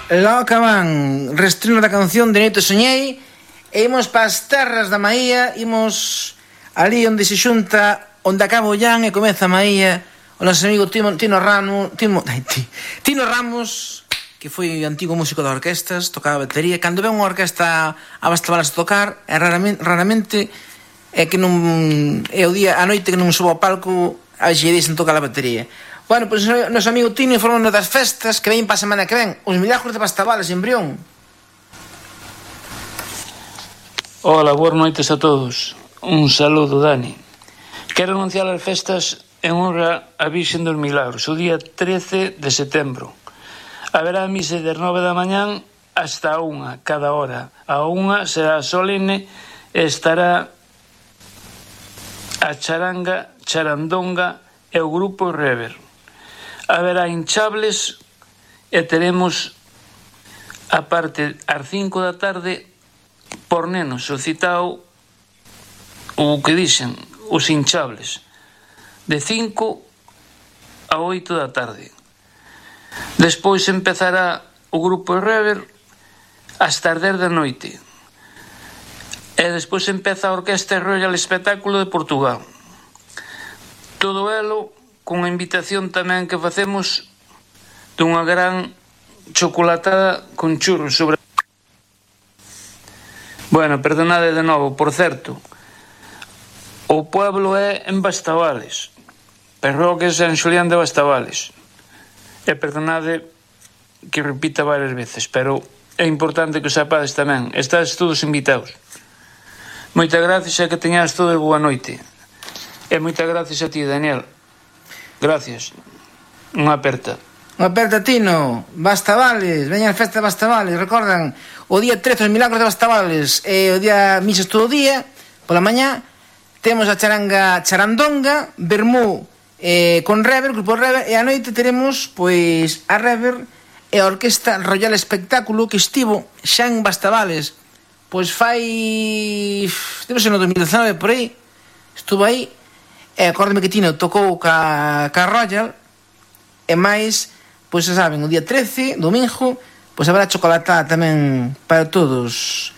Logo van reestreno da canción de Neto Soñei e imos para as terras da Maía, imos ali onde se xunta, onde acaba o Llán e comeza a Maía, o noso amigo Tino Ramos, que foi antigo músico de orquestas, tocaba batería. Cando ven unha orquesta a Bastabalas a tocar, raramente é que non é o día, a noite que non subo ao palco a xe dixen tocar a batería. Bueno, pois o noso amigo Tino informou das festas que ven para a semana que ven, os Milagros de Bastabalas en Brión. Hola, boas noites a todos. Un saludo, Dani. Quero anunciar as festas en honra a Virxen dos Milagros, o día 13 de setembro. Haberá misa das 9 da mañán hasta a 1, cada hora. A 1 será solene e estará a charanga, charandonga e o grupo Rever. Haberá hinchables e teremos a parte ás 5 da tarde por nenos, o citao o que dixen, os hinchables, de 5 a 8 da tarde. Despois empezará o grupo Rever hasta as 10 da noite e despois empeza a Orquestra Royal Espectáculo de Portugal. Todo elo con a invitación tamén que facemos dunha gran chocolatada con churros sobre... Bueno, perdonade de novo, por certo, o pueblo é en Bastavales, Parroquia San Xulián de Bastavales. E perdonade que repita varias veces, pero é importante que o sapades tamén. Estás todos invitados. Moitas gracias e que teñas todos boa noite. E moitas gracias a ti, Daniel. Gracias. Unha aperta. Unha aperta, Tino. Bastavales, veñan as festas de Bastavales. Recordan, o día 13 os Milagros de Bastavales e o día misas todo o día. Pola mañá temos a charanga charandonga, vermú con Rever, grupo Rever, e a noite teremos pois a Rever e a Orquesta Royal Espectáculo que estivo xa en Bastavales. Pois fai... debe ser no 2019 por aí. Estuvo aí. E acórdame que Tino tocou ca Royal. E máis, pois xa saben, o día 13, domingo, pois habrá chocolatada tamén para todos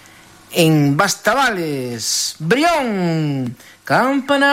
en Bastavales. Brión, campana.